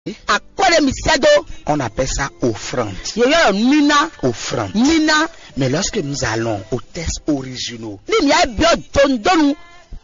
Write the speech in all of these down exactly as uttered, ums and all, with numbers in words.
Akwɛ́ ɖé mi sɛ́ dó. On appelle ça offrande. Yě ylɔ́ ɖɔ níná. Offrande. Níná. Mais lorsque nous allons aux textes originaux, Ní mi yá byɔ́ dondonu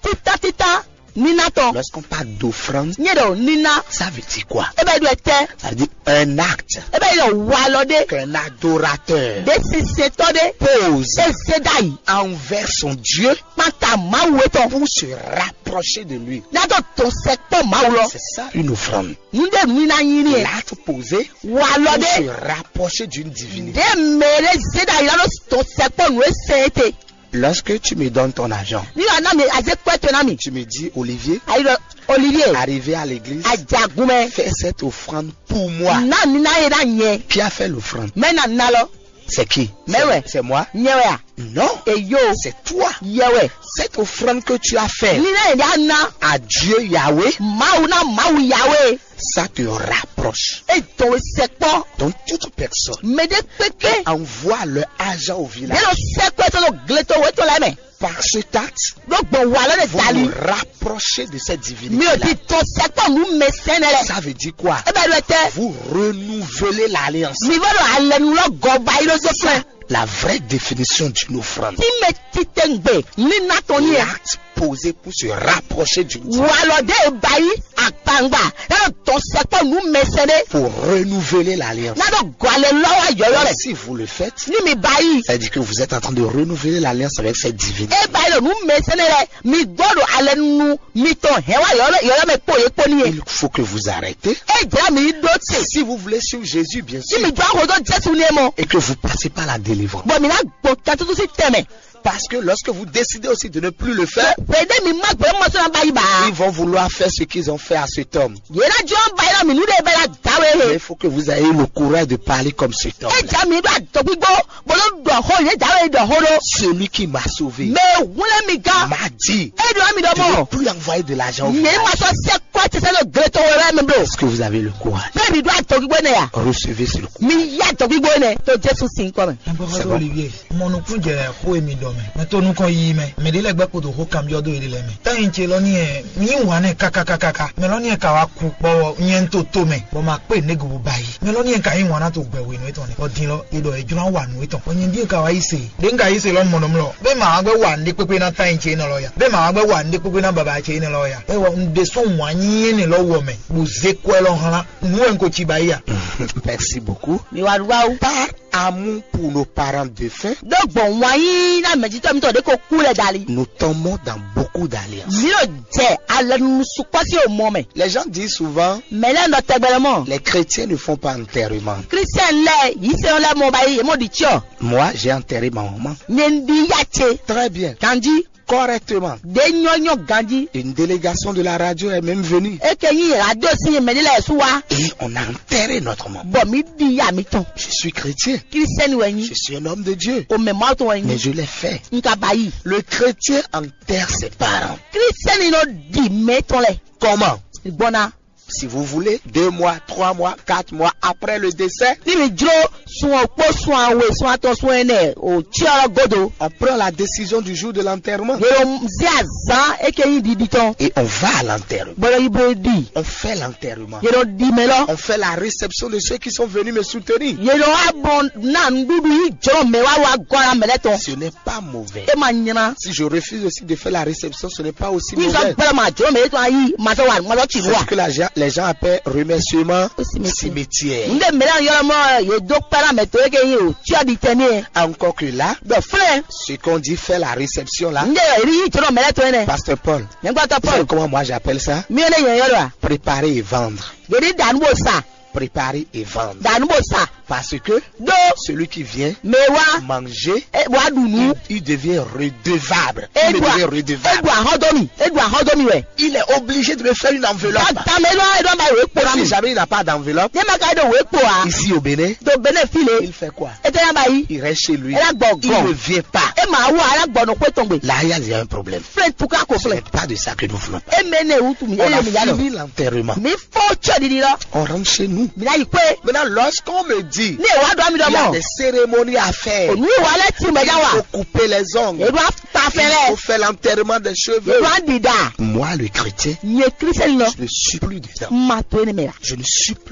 títá títá níná tɔn. Lorsqu'on parle d'offrande, Nyɛ ɖɔ níná. Ça veut dire quoi? E bɛ ɖɔ tɛ. Ça veut dire un acte. E bɛ ɖɔ walɔ ɖé. Qu'un adorateur Ɖé sinsɛntɔ ɖé. Pose E zé ɖ'ayǐ. Envers son Dieu Kpanta Mawu etɔn. Pour se rapprocher de lui. N'a dó dɔn sɛkpɔ Mawu lɔ. C'est ça une offrande. Nǔɖé nǔ ná nyí n'i. L'acte posé Walɔ pour ɖé. Se rapprocher d'une divinité. Ɖé mɛ ɖé zé ɖ'ayǐ lɔ ɖó dɔn sɛkpɔ nǔ e sɛn é te. Lorsque tu me donnes ton argent, Ní wàá ná mi azé kpɛ́ to ná mi. Tu me dis, Olivier, Ayi ɖɔ Olivier. Arrivé à l'église, Ajagun mɛ. Fais cette offrande pour moi. Ná mi ná yé ná nyɛ. Qui a fait l'offrande? Mɛ ná ná lɔ. C'est qui? Mɛ C'est wɛ. C'est moi? Nyɛ wɛ a? Non. Eyo. C'est toi. Yɛ wɛ. Cette offrande que tu as faite Ní ná yé ná ná. À Dieu Yahweh, Mawu ná Mawu Yahweh. Ça te rapproche. E dɔn we sɛkpɔ. Donc toute personne Mɛ ɖé kpékpé. Envoie leur argent au village. Ɖé lɔ sɛkpɔ e tɔn ɖo gleto we tɔn lɛ mɛ. Par cet acte, Ɖó gbɔn wa lɔ ɖe vous dali. Vous rapprochez de cette divinité. Mi ò di tɔn sɛkpɔ nǔ mɛ sɛnɛ lɛ. Ça veut dire quoi? E bɛ ɖo tɛ. Vous renouvelez l'alliance. Mi vɔ ɖo alɛnu lɔ gɔ ba yi ɖo so fún. La vraie définition d'une offrande. Tí mɛ titɛngbè ní ná tɔn ní ɛ. L'acte posé pour se rapprocher d'une divinité. Wa lɔ ɖe ba yi akpangba. Ɛ dɔn sɛkpɔ nǔ mɛ sɛnɛ. Pour renouveler l'alliance. N'a dó gɔ alɛ lɔ wa yɔyɔ lɛ. Si vous le faites, Ní mi ba yi. Ça veut dire que vous êtes en train de renouveler l'alliance avec cette divinité. E ba yi ɖo nǔ mɛ sɛnɛ lɛ. Mi gbɔ ɖo alɛ nu. Mi tɔn hɛn wa yɔyɔ yɔyɔ mɛ kpo ye kpo ní ye. Il faut que vous arrêtez. E jla mi ɖó te. Si vous voulez suivre Jésus, bien Tí sûr, mi dó ahodo Jésù ní e mɔ. Et que vous passez par la délivrance. Bɔn mi ná gbɔn katutu si tɛmɛ. Parce que lorsque vous décidez aussi de ne plus le faire, Bɛdɛ mi ma gbɛ mɔ sɔn ba yi ba. Ils vont vouloir faire ce qu'ils ont fait à cet homme. Yena jɔ ba yi mi nu de bɛ la dawe Mais he. Il faut que vous ayez le courage de parler comme cet homme. E ja mi do adɔgbigbo, bolo dɔ ho ye dawe dɔ ho do. Celui qui m'a sauvé Mɛ wule mi ga. M'a dit, E do mi dɔ je ne mɔ. Plus envoyer de l'argent au Ye village. Ma sɔ se kwa ti se do gleto wɛrɛ mi blo. Est-ce que vous avez le courage? Bɛ mi do adɔgbigbo ne ya. Recevez ce courage. Mi ya adɔgbigbo ne to Jesu sin kɔ mɛ. Agbɔfɔtɔ Olivier, mɔnukun jɛ xó e mi ɖɔ mɛ. Mɛ to nukɔn yi mɛ. Mɛ ɖe lɛ gbɛ kodo xó kanbyɔ do yi lɛ mɛ. Tɛyin ce lɔ ni yɛ, mi wà nɛ kakakakaka. Mɛ lɔ ni yɛ ka wa ku kpɔ nyɛ to to mɛ. Bɔ ma kpe ne gobo ba yi. Mɛ lɔ ni yɛ ka yi wà na to gbɛ wenu etɔn ne. Bɔ din lɔ, e ɖɔ e jlo wa nu etɔn. Bɔ nyɛ di ka wa yi se. De nga yi se lɔ mɔnɔ mlɔ. Be ma wa gbɛ wa ne kpekpe na tɛyin ce nɔ lɔ ya. Be ma wa gbɛ wa ne kpekpe na baba ce nɔ lɔ ya. E wɔ n de sɔn wa nyi ne lɔ wɔ mɛ. Bo ze kwɛ lɔ hlan. Nu wɛ n ko ci ba yi ya. Merci beaucoup. Mi wa ɖu awu. Par amour pour nos parents défunts, Ɖó gbɔn wǎn yíyí ná mɛjitɔ́ mitɔn ɖě ko kú lɛ dali. Nous tombons dans beaucoup d'alliances. Mi ɖo jɛ alɛnunu sukpɔ́ sín omɔ mɛ. Les gens disent souvent, Mɛ lɛ́ɛ nɔ tɛgbɛlɛ mɔ. Les chrétiens ne font pas enterrement. Kristiɛn lɛ́ɛ yǐsɛ́n lɛ́ɛ mɔ ba yí yě mɔ ɖi cyɔ. Moi, j'ai enterré ma maman. Nyɛ un ɖi yá ce. Très bien. Ganjí. Correctement. Ɖě nyɔ́ nyɔ́ ganjí. Une délégation de la radio est même venue. É ke nyí radio sín mɛ ɖé lɛ́ɛ sú wá. Et on a enterré notre maman. Bɔ mǐ ɖi ya mǐtɔn. Je suis chrétien. Kristiɛni wɛ nyí. Je suis un homme de Dieu. O mɛ Mawu tɔn wɛ nyí. Mais je l'ai fait. N ka ba yi. Le chrétien enterre ses parents. Kristiɛni nɔ ɖi mɛ tɔn lɛ. Comment? Gbɔna. Si vous voulez, deux mois, trois mois, quatre mois après le décès, Ní mi jló sun ɔkpó sun awe sun atɔn sun ɛnɛ o cyɔ godo. On prend la décision du jour de l'enterrement. Yelom zia zan eke yi ɖiɖi tɔn. Et on va à l'enterrement. Bɔlɔ yi bo ɖi. On fait l'enterrement. Yelom ɖi mɛ lɔ. On fait la réception de ceux qui sont venus me soutenir. Yelom abɔ na nuɖuɖu yi jɔ mɛ wa wa gɔ la mɛ lɛ tɔn. Ce n'est pas mauvais. E ma nyina. Si je refuse aussi de faire la réception, ce n'est pas aussi mauvais. Ni sɔ gbɛlɛ ma jɔ mɛ etɔn ayi ma sɔ wa ma sɔ ci C'est wa. Ce que la gens, les gens appellent remerciement. Cimetière. Cimetière. N de mɛ la yɔrɔ mɔ ye do kpɛla mɛ to eke yi o tia di tɛ ne. Encore que là, Bɛ filɛ. Ce qu'on dit faire la réception là, N de ri yi jɔ mɛ lɛ to ne. Pasteur Paul, Nyɛgbɔtɔ vous savez Paul. Comment moi j'appelle ça? Mi ne yɛ yɔrɔ a. Préparer et vendre. Gedi danu bo sa. Préparer et vendre. Danu bo sa. Parce que Do. Celui qui vient Mɛ wa. Manger, E wa ɖu nu. Il, il devient redevable. Il me Edua. Devient redevable. Edua hɔn do mi. Edua hɔn do mi wɛ. Il est obligé de me faire une enveloppe. Dame lɔ edɔ ba wɛ kpɔ na Si mi. Jamais il n'a pas d'enveloppe, Ne ma ka do wɛ kpɔ a. Ici au Bénin, Do bene file. Il fait quoi? Ete ya ba yi. Il reste chez lui. Ela gbɔ Il ne gɔ. Vient pas. E ma wa ela gbɔ no kwe tɔn gbe. Là, il y a déjà un problème. Filɛ tuka ko Ce filɛ. N'est pas de ça que nous voulons. E mɛ ne wutu mi. On a e mi ya lɔ. Fini l'enterrement. Mi fɔ cɛ didi lɔ. On rentre chez nous. Mi na yi kwe. Maintenant, lorsqu'on me dit, Ní èwà dɔ mi il y a dɔmɔ. Des cérémonies à faire. Òní ìwà lẹ ti mẹ Il yá wa. Faut couper les ongles. Èdè wa ta fẹ Il faut lẹ. Faire l'enterrement des cheveux. Èdè wa dìda. Moi, le chrétien, Nye kristian nɔ. Je ne suis plus dedans. Ma to ne mɛ la. Je ne suis plus